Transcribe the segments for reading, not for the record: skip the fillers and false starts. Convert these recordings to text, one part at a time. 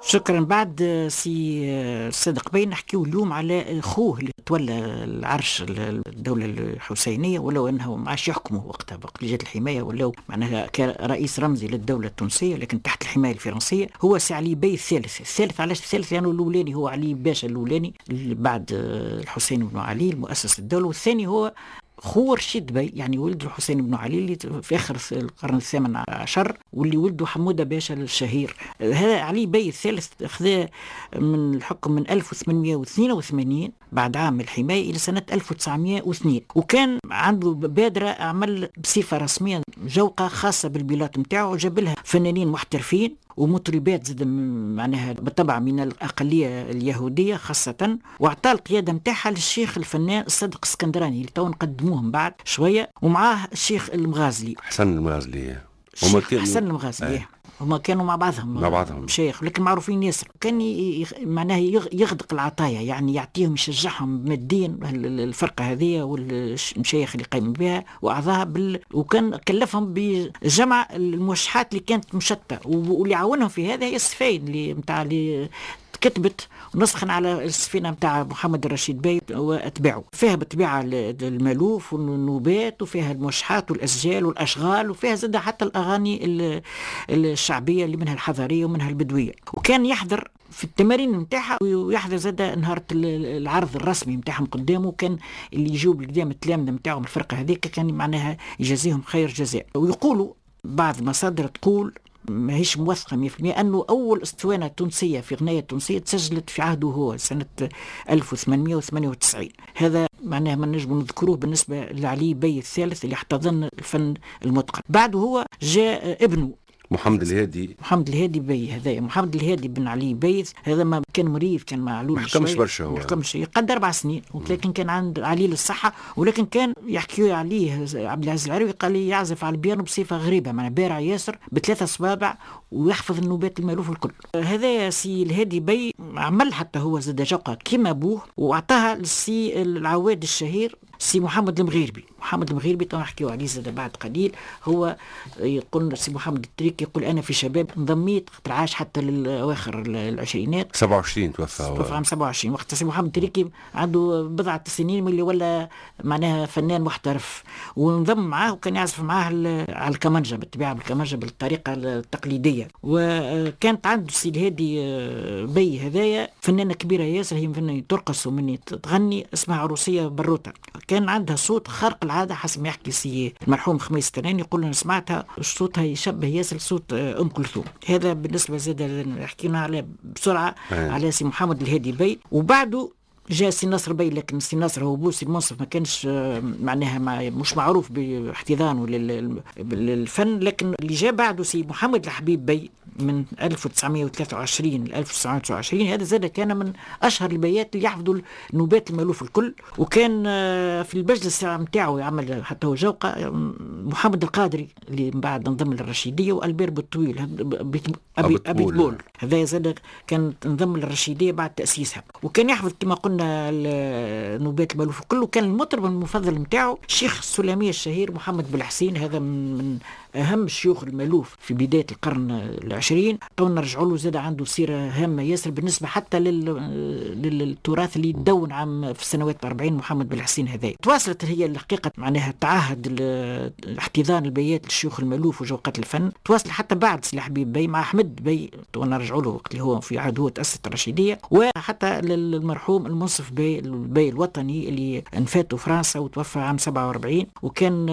شكرا. بعد سي الصادق بي نحكيو اليوم على خوه اللي تولى العرش الدولة الحسينية، ولو انه ما عادش يحكموا وقتها، وقت اللي جات الحماية ولاو معناها كرئيس رمزي للدولة التونسية، لكن تحت الحماية الفرنسية. هو سي علي بي الثالث. الثالث علاش الثالث؟ لأنه يعني الأولاني هو علي باشا الأولاني بعد الحسين بن علي المؤسس الدولة، والثاني هو خو رشيد بي، يعني ولد الحسين بن علي اللي في اخر القرن الثامن عشر، واللي ولده حموده باشا الشهير. هذا علي بي الثالث اخذ من الحكم من 1882 بعد عام الحماية الى سنة 1902، وكان عنده بادره عمل بصفة رسمية جوقه خاصة بالبلاط نتاعو، وجاب لها فنانين محترفين ومطربات زاد معناها بالطبع من الأقلية اليهودية خاصة، وأعطى القيادة نتاعها للشيخ الفنان الصادق الاسكندراني اللي تو نقدموه من بعد شوية، ومعاه الشيخ المغازلي حسن المغازلي. حسن المغازلي هما كانوا مع بعضهم مشايخ، لكن معروفين ياسر. كان معناها يغدق العطايا، يعني يعطيهم يشجعهم ماديا الفرقة هذه والمشايخ اللي قايمين بها واعضاها وكان كلفهم بجمع الموشحات اللي كانت مشتتة، واللي عاونهم في هذا هي السفاين اللي نتاع اللي كتبت نسخا على السفينة نتاع محمد الرشيد بي واتباعه. فيها بالطبيعة المالوف والنوبات، وفيها الموشحات والاسجال والاشغال، وفيها زاد حتى الاغاني الشعبية اللي منها الحضرية ومنها البدوية. وكان يحضر في التمارين نتاعها، ويحضر زاد نهار العرض الرسمي نتاعهم قدامه. كان اللي يجوا بالقدام التلامذه نتاعهم الفرقة هذيك كان معناها يجازيهم خير جزاء. ويقولوا بعض المصادر تقول ماهيش موثقة 100% أنه أول أسطوانة تونسية في غناية تونسية تسجلت في عهده هو سنة 1898. هذا معناه ما نجم نذكروه بالنسبة لعلي بي الثالث اللي احتضن الفن المتقن. بعده هو جاء ابنه محمد الهادي. محمد الهادي بي، هذا محمد الهادي بن علي بي، هذا ما كان مريض، كان معلول، ما حكمش برشا، هو ما حكمش، قد 4 سنين، ولكن كان عند عليل الصحة. ولكن كان يحكي عليه عبد العزيز العروي، قال لي يعزف على البيانو بصفة غريبة، معناها بارع ياسر ب3 صوابع ويحفظ النوبات المالوف الكل. هذا سي الهادي بي عمل حتى هو زاد جوقة كيما ابوه، واعطاها للسي العواد الشهير سي محمد المغيربي. محمد المغيربي تو نحكيو عليه زاد بعد قليل. هو يقول سي محمد التريكي، يقول انا في شباب انضميت، خاطر عاش حتى للاواخر العشرينات، 27 توفى، توفى عام 27. وقت سي محمد التريكي عنده بضعة سنين من اللي ولا معناها فنان محترف، وانضم معاه وكان يعزف معاه على الكمانجا، بالطبيعة بالكمانجا بالطريقة التقليدية. وكانت عنده سي الهادي بي هذايا فنانة كبيرة ياسر، هي فنانة ترقص ومني تغني، اسمها عروسيه بروته. كان عندها صوت خارق العادة حسب ما يحكي سي المرحوم خميس التناني، يقول انا سمعتها صوتها يشبه ياسر صوت ام كلثوم. هذا بالنسبة زاد حكينا على بسرعة على سي محمد الهادي بي. وبعده جاء سي نصر بي، لكن سي نصر هو بو سي المنصف ما كانش معناها مش معروف باحتضانه للفن. لكن اللي جاء بعده سي محمد الحبيب بي من 1923 ل 1929، هذا زاد كان من اشهر البيات اللي يحفظوا النوبات المالوف الكل. وكان في المجلس نتاعو يعمل حتى هو جوقه محمد القادري اللي من بعد انضم للرشيديه، والبير بالطويل ابي طبول، هذا زاد كان انضم للرشيديه بعد تاسيسها. وكان يحفظ كما قلنا النوبات المالوف الكل. وكان المطرب المفضل نتاعو الشيخ السلامي الشهير محمد بالحسين، هذا من اهم شيوخ المالوف في بداية القرن العشرين. تو نرجعوا له، زاد عنده سيره هامة ياسر بالنسبة حتى للتراث اللي تدون عام في السنوات 40 محمد بالحسين هذا. تواصلت هي الحقيقة معناها تعهد احتضان البيات للشيوخ المالوف وجوقات الفن، تواصل حتى بعد سي الحبيب بي مع احمد بي، تو نرجعوا له وقت اللي هو في عهد هو تاسست الرشيديه، وحتى للمرحوم المنصف بي البي الوطني اللي انفاته فرنسا وتوفى عام 47. وكان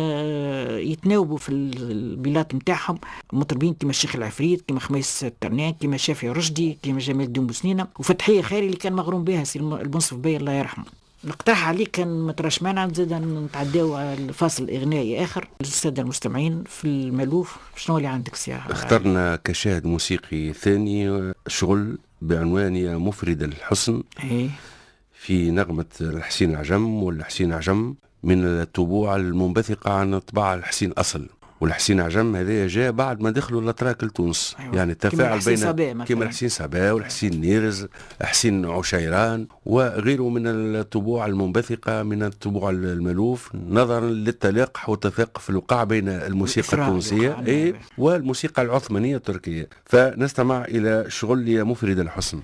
يتناوبوا في البلاد نتاعهم مطربين كيما الشيخ العفريت، كيما خميس الترنان، كيما شافعي رشدي، كيما جمال الدين بوسنينه، وفتحيه خيري اللي كان مغروم بها سي المنصف بي الله يرحمه. نقترح عليك كان ما تراش مانع نزيد نتعداو على الفاصل الاغنائي اخر للسادة المستمعين في المالوف. شنو اللي عندك سي؟ اخترنا كشاهد موسيقي ثاني شغل بعنوان يا مفرد الحسن، في نغمة الحسين العجم والحسين عجم من الطبوع المنبثقه عن طباع الحسين الاصل. والحسين عجم هذا جاء بعد ما دخلوا الاتراك لتونس. يعني التفاعل بين كما الحسين صبا والحسين نيرز، حسين عشيران وغيره من الطبوع المنبثقه من الطبوع المالوف، نظرا للتلاقح والتثاقف الوقع بين الموسيقى التونسية والموسيقى العثمانية التركيه. فنستمع الى شغل يا مفرد الحسن.